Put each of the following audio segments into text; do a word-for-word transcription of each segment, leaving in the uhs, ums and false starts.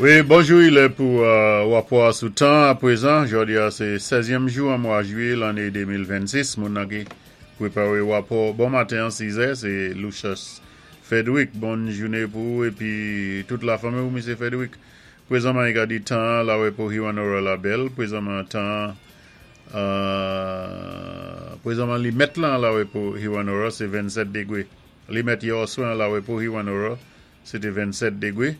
Wi, bonjou, i lè pou euh, wapò sou tan apwézan. Jòdi-a, sé sèzyèm jou an mwa jwiyé lanné de mil vennsis. Moun nan ki pwépawé wapò bon maten sis è, sé Lucius Frederick. Bonn jouné pou ou épi tout lafanmi ou, Misyé Frederick. Pwézanman, i ka di tan lawè pou Hewanorra la bèl. Pwézanman tan euh, pwézanman limèt lan lawè pou Hewanorra, sé vennsèt dégwé. Limèt yè oswè lawè pou Hewanorra, sé té vennsèt dégwé.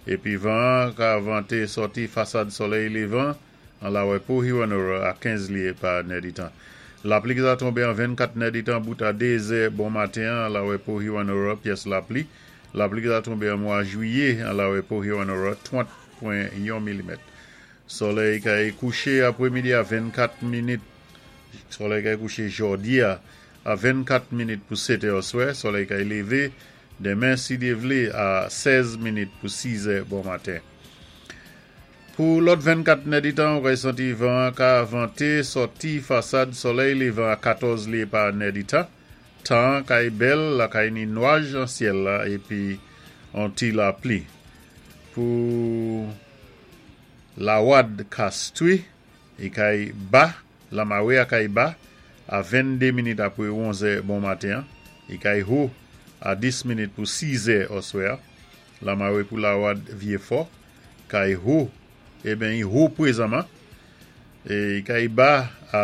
Épi van ka vanté sòti fasad solèy lévan an lawè pou Hewanorra a kenz lyé pa nèditan. Lapli ki sa tonbé an vennkat nèditan bout a dé zè bon maten an lawè pou Hewanorra, pyès lapli. Lapli ki sa tonbé an mwa jwiyé an lawè pou Hewanorra, trant pwen yon milimèt. Solèy kay kouché apwémidi a vennkat minit. Solèy kay kouché jòdi-a a vennkat minit pou sèt è oswè. Solèy kay lévé denmen si Dye vlé a sèz minit pou sis è bon maten. Pou lòt vennkat nèditan, ou kay santi van ka vanté sòti fasad solèy lévan a katòz lyé pa nèditan. Tan kay bèl, la kay ni nwaj an syèl la épi an ti lapli. Pou Lawad Castries, i kay ba, lamawé a kay ba, a venndé minit apwé onz è bon maten, i kay wo a dis minit pou sis è oswè. Lamawé pou Lawad Vyéfò, kay wo, eben i wo pwézanman, é i kay ba a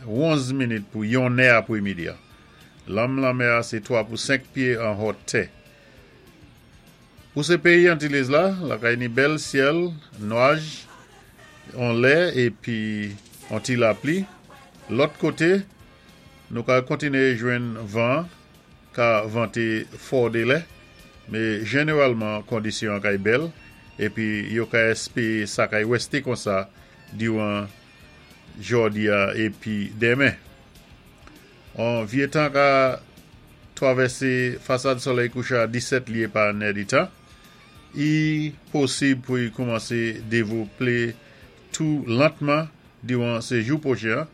onz minit pou yon è apwémidi. Lanm lanmè a sé twa pou senk pyé an wotè. Pou sé péyi Antilles la, lakay ni bèl syèl, nwaj, an lè épi an ti lapli. Lòt koté, nou ka kontiné jwenn van ka vanté fò dé lè, mé jénéwalman kondisyon kay bèl, épi yo ka èspéwé sa kay wésté konsa diwan jòdi-a épi denmen. An vyé tan ka twavèsé fasad solèy kouchan a disèt lyé pa nèditan. I posib pou y koumansé dévlopé tou lantman diwan sé jou pwochen,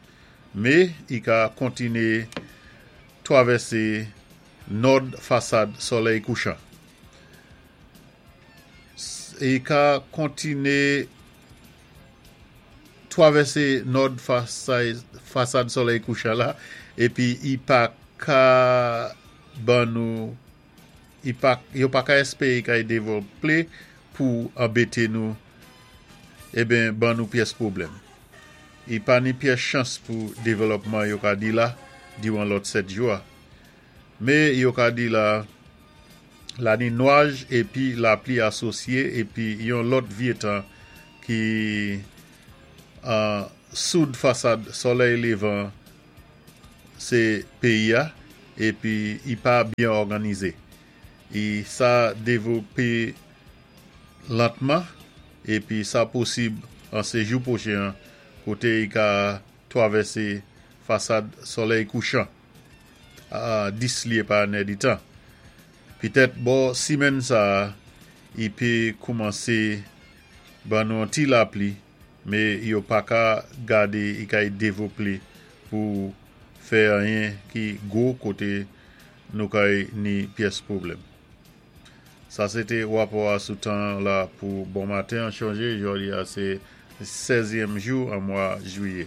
mé i ka kontiné twavèsé nòd fasad solèy kouchan. I ka kontiné twavèsé nòd fasad solèy kouchan la, épi i pa ka ban nou, yo pa ka èspéwé kay dévlopé pou anbété nou, eben ban nou pyès pwoblèm. I pa ni pyès chans pou dévlopman yo ka di la, diwan lòt sèt jou a. Mé yo ka di la, la ni nwaj épi lapli asosyé épi yon lòt vyé tan ki an soud fasad solèy lévan sé péyi-a épi i pa byen òganizé. I sa dévlopé lantman épi sa posib an sé jou pwochen koté i ka twavèsé fasad solèy kouchan a dis lyé pa nèditan. Pitèt bò simenn sa i pé koumansé ban nou an ti lapli, mé yo pa ka gadé i kay dévlopé pou fè anyen ki gwo koté nou kay ni pyès pwoblèm. Sa sé té wapò a sou tan la pou bon maten an chonjé, jòdi-a sé sèzyèm jou an mwa jwiyé.